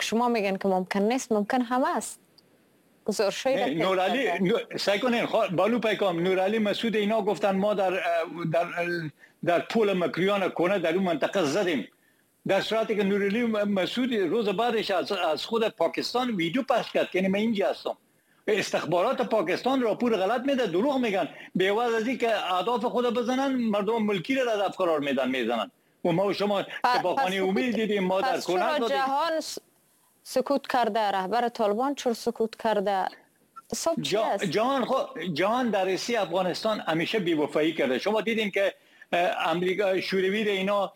شما میگن که ممکن نیست، ممکن هم است. گزارش‌های نورالی سعی کنین بالو پیکام نورالی مسعود اینا گفتن ما در در در پول مکریان کنه در اون منطقه زدیم، در صورتی که نورالی مسعود روز بعدش از خود پاکستان ویدیو پخش کرد که من اینجا هستم. استخبارات پاکستان راپور غلط میده، دروغ میگن، به عوض از اینکه اهداف خود بزنن مردم ملکی را هدف قرار میدن میزنن. و ما و شما شباخانه امید دیدیم، ما در کنه جهان سکوت کرده، رهبر طالبان چرا سکوت کرده؟ جهان در رسی افغانستان همیشه بی‌وفایی کرده. شما دیدین که امریکا شوروی اینا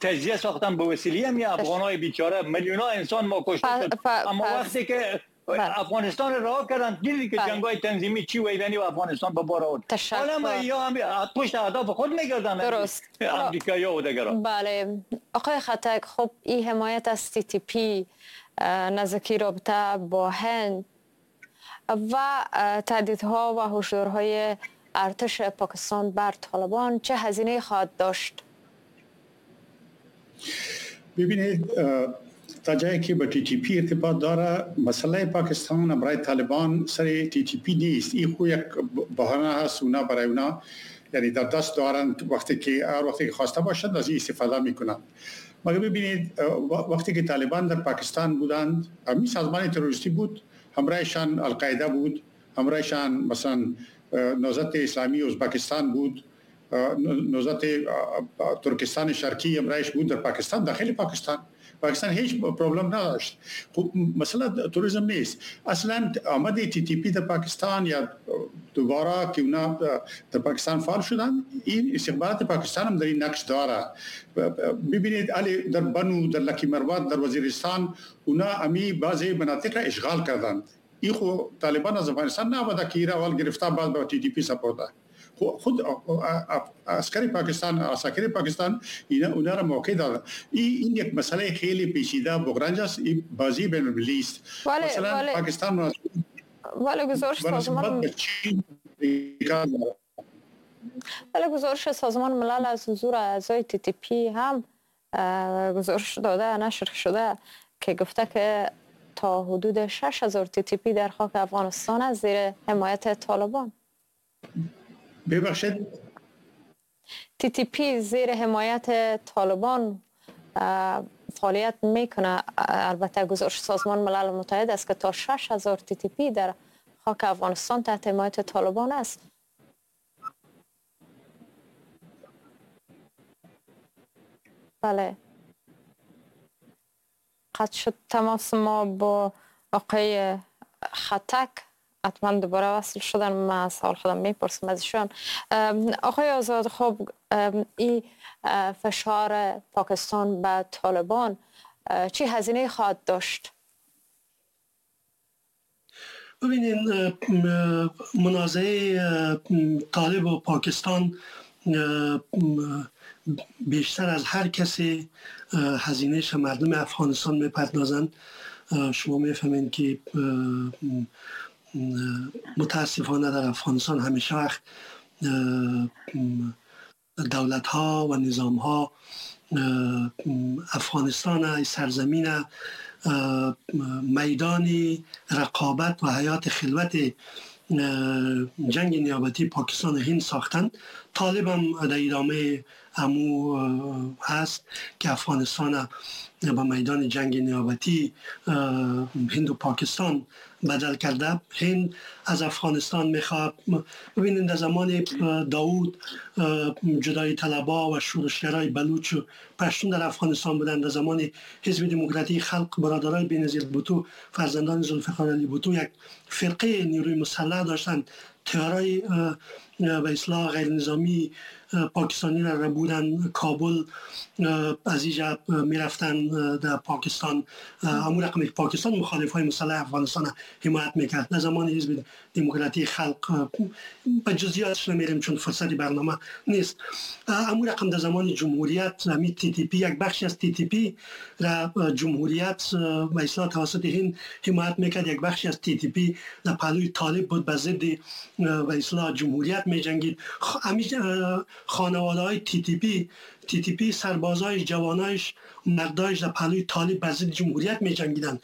تجزیه ساختن به وسیله هم افغانای بیچاره، میلیون ها انسان ما کشته شد. اما وقتی که افغانستان رها کردن دیدید که جنگ‌های تنظیمی چی ویرانی و افغانستان به بار آورد. حالا یا هم پشت اهداف خود می‌گردن امریکایی‌ها و دیگران. بله آقای ختک، خب این حمایت از تی تی پی، نزدیکی رابطه با هند و تهدیدها و هشدارهای ارتش پاکستان بر طالبان چه هزینه خواهد داشت؟ ببینید تا جایی که با تی تی پی ارتباط داره، مسئله پاکستان برای طالبان سر تی تی پی نیست. این خو یک بهانه هست، اونا برای اونا یعنی در دست دارن، وقتی که هر وقتی که خواسته باشند از این استفاده میکنن. مگر ببینید وقتی که طالبان در پاکستان بودند، همین سازمان تروریستی بود، همراهشان القاعده بود، همراهشان مثلا نهضت اسلامی ازبکستان بود، نهضت ترکستان شرقی همراهش بود در پاکستان، داخل پاکستان. پاکستان هیچ problem نداشت. خب مسئله تروریسم نیست. اصلا آمد تی تی پی در پاکستان یا دوباره که اونا در پاکستان فعال شدن، این استخبارات پاکستان هم در این نقش داره. ببینید علی در بنو، در لکی مروت، در وزیرستان اونا امی بعضی مناطق را اشغال کردند. این خو طالبان از افغانستان نبوده که ایران اول گرفته بعد با تی تی پی سپرده. خود عسکری پاکستان، عساکر پاکستان اینا اونا را موقع داد. این یک مسئله خیلی پیچیده بغرنج است، این بازی بین المللی است. مثلا پاکستان ولی گزارش سازمان ولی گزارش سازمان ملل از حضور اعضای تی تی پی هم گزارش داده، نشر شده که گفته که تا حدود 6000 تی تی پی در خاک افغانستان از زیر حمایت طالبان. ببخشید تی تی پی زیر حمایت طالبان فعالیت میکنه. البته گزارش سازمان ملل متحد است که تا 6000 تی تی پی در خاک افغانستان تحت حمایت طالبان است. بله قطع شد تماس ما با آقای ختک، حتما دوباره وصل شدن. من سوال خودم میپرسم از ایشان. آقای آزاد، خب این فشار پاکستان به طالبان چه هزینه خواهد داشت؟ ببینین منازعه طالب و پاکستان بیشتر از هر کسی هزینه‌اش مردم افغانستان میپردازند. شما میفهمین که متاسفانه در افغانستان همیشه وقت دولت ها و نظام ها افغانستان سرزمین میدان رقابت و حیات خلوت جنگ نیابتی پاکستان و هند ساختند. طالب هم در ادامه امو هست که افغانستان به میدان جنگ نیابتی هند و پاکستان بدل کرده. هند از افغانستان میخواد. ببینید در زمان داود جدای طلبا و شورشگرای بلوچ و پشتون در افغانستان بودند. در زمان حزب دموکراتی خلق برادرای بینظیر بوتو، فرزندان ذوالفقار علی بوتو، یک فرقه نیروی مسلح داشتند. تیارای به اصلاح غیر نظامی پاکستانی را بودن کابل، از اینجا میرفتن در پاکستان. امور رقم پاکستان مخالف های مسلح افغانستان حمایت میکرد. در زمان حزب دموکراتی خلق به جزئیاتش نمیریم چون فرصت برنامه نیست. امور رقم در زمان جمهوریت همی تی تی پی، یک بخشی از تی تی پی را جمهوریت به اصلاح توسط هند حمایت میکرد، یک بخشی از تی تی پی در پهلوی طالب بود، به ضد به اصلاح جمهوریت میجنگید. خانواده های تی تی پی، سربازای، جوانایش، مردایش در پهلوی طالب بر ضد جمهوریت می جنگیدن.